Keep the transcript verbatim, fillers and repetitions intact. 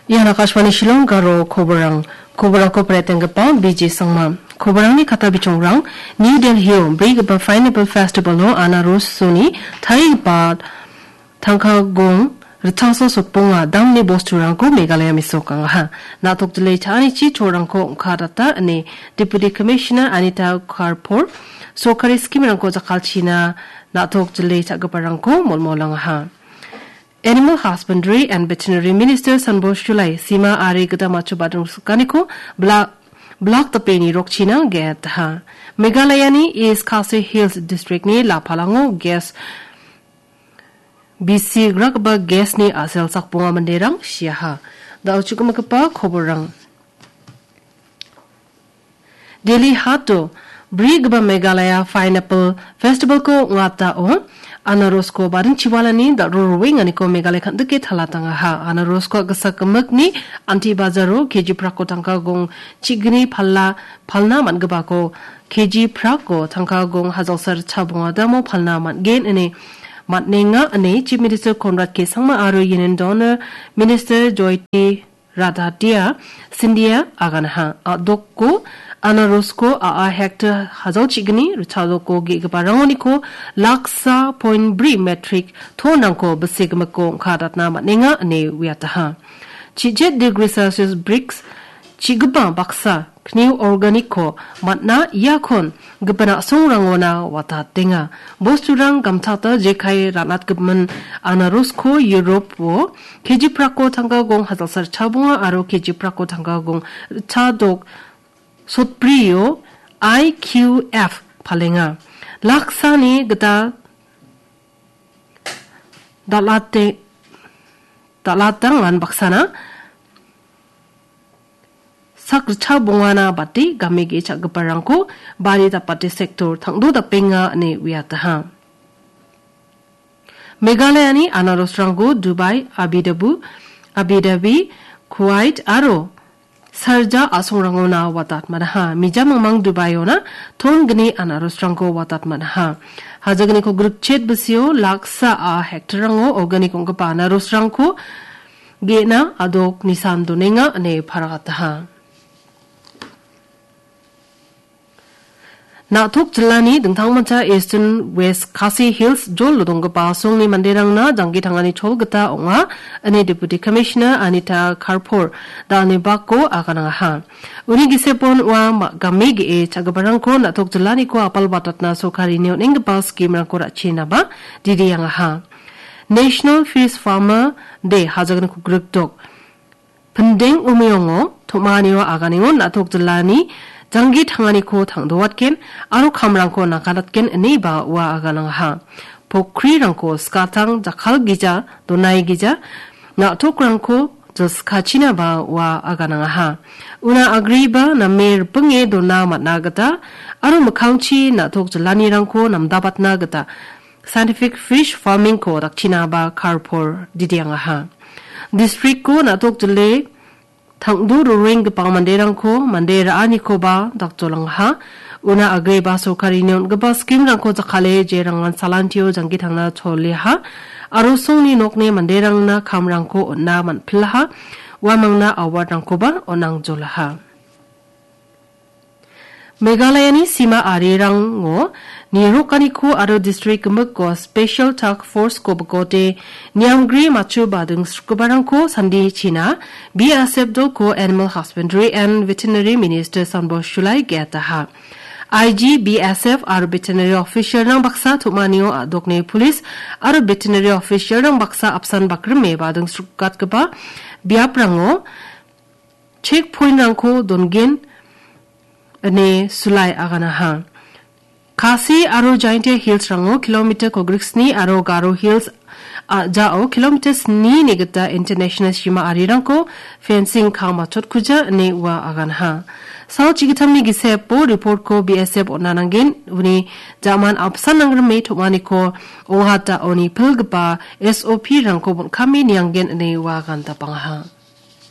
Ian Akashvani Shillong Garo koborang. Koborangko paretenggipa B J Sangma. Koborangni kata bichongrang, New Delhi-o brigipa Pineapple Festival-o anarosoni tarigipa tangka gong ritchasa sotbonga damni bosturangko Meghalaya mesokangaha. Na·tok jilai cha·anichi cholrangko ong·katata ine Deputy Commissioner Anita Karpor sorkari skimrangko jakkalchina na·tok jilai cha·giparangko molmolangaha. Animal Husbandry and Veterinary Minister Sanbosh Chulai sima ari gita machu badrong sukaniko bla-, blak dapeni rokchina ge·etaha. Meghalayani East Khasi Hills District-ni Lapalango gas bisi gragba gas-ni a·sel sakbonga manderang siaha. Da·o chukgimagipa koborrang. Delhi hato brigipa Meghalaya Pineapple Festival-ko ong·atao anarosko baring chiwalani da·ro roenganiko Meghalaya kan·dike talatangaha. Anarosko a·gisa gimikni anti bajaro K G prako tangka gong chigni pala palna man·gipako K G prako tangka gong hajalsa ritchabonga damo palna man·gen ine man·enga ine Chief Minister Conrad K Sangma aro Union Donor Minister Jyoti Radhatia Scindia aganaha. A·doko anarosko a·a hektar hajal chigni ritchadoko ge·giparangoniko laksa point bri metric ton-rangko bise gimikko ong·kadatna man·enga ine uiataha. Chichet degree Celsius briks chigipa baksa kniw organic-ko man·a iakon gipin a·songrangona watatenga. Bosturang gamtata jekai ra·natgimin anarosko Europe-o K G prako tangka gong hajalsa ritchabonga aro K G prako tangka gong ritchadok sotbrio I Q F palenga. Laksani gita dal·ate-, dal·atangan baksana sak ritchabongana bate game ge·e cha·giparangko bari dapate sektor tangdo dapenga ine uiataha. Meghalayani anarosrangko Dubai, Abu Dhabi, Abu Dhabi, Kuwait aro Sharjah a·songrangona watat man·aha. Mija mingmang Dubai-ona ton gni anarosrangko watat man·aha. Hajagniko grikchet bisio laksa a hektarrango organic ong·gipa anarosrangko ge·na a·dok nisan donenga ine paragataha. Na·tok jilani dingtangmancha Eastern West Khasi Hills jolo donggipa a·songni manderangna janggi tangani chol gita ong·a, ine Deputy Commissioner Anita Karpor da·alni bako aganangaha. Uni gisepon ua ma-, game ge·e cha·giparangko na·tok jilaniko apal watatna sorkarini on·enggipa scheme-rangko ra·chinaba didiangaha. National Fish Farmer Day hajagniko grikdok Pindeng umiongo, tom·anio aganengon na·tok jilani janggi tanganiko tangdowatgen aro kamrangko nakadatgen ineba ua aganangaha. Pokrirangko skatang jakkalgija, donaigija, na·tokrangko jilskachinaba ua aganangaha. Una agreba name ripinge dona man·a gita aro mikkangchi na·tok jilanirangko namdabatna gita Scientific Fish Farming-ko dakchinaba Karpor didiangaha. District-ko na·tok jile tangdo rorenggipa manderangko mande ra·anikoba dakjolangaha. Una agreba sorkarini on·gipa scheme-rangko jakkale jerangan salantio janggi tangna choliaha. Aro songni nokni manderangna kamrangko on·na man·pilaha. Uamangna award-rangkoba on·angjolaha. Meghalayani sima arirango nirokaniko aro distrik gimikko Special Task Force-ko bikote niamgri machu bading srukgiparangko sandi china B S F dolko Animal Husbandry and Veterinary Minister Sanbosh Chulai ge·ataha. I G, B S F aro veterinary official-rang baksa tom·anio a·dokni police aro veterinary official-rang baksa apsan bakrime bading srukgatgipa biaprango checkpoint-rangko dongen ine Chulai aganaha. Khasi aro Jaintia Hills-rango kilometer kogriksni aro Garo Hills a·jao kilometer snini gita international sima arirangko fencing ka·machotkuja ine ua aganaha. Sal chigitamni gisepo report-ko B S F on·a nanggen, uni jaman apsan nangrime tom·aniko ong·hataoni pilgipa S O P-rangko bon·kame nianggen ine ua agandapangaha.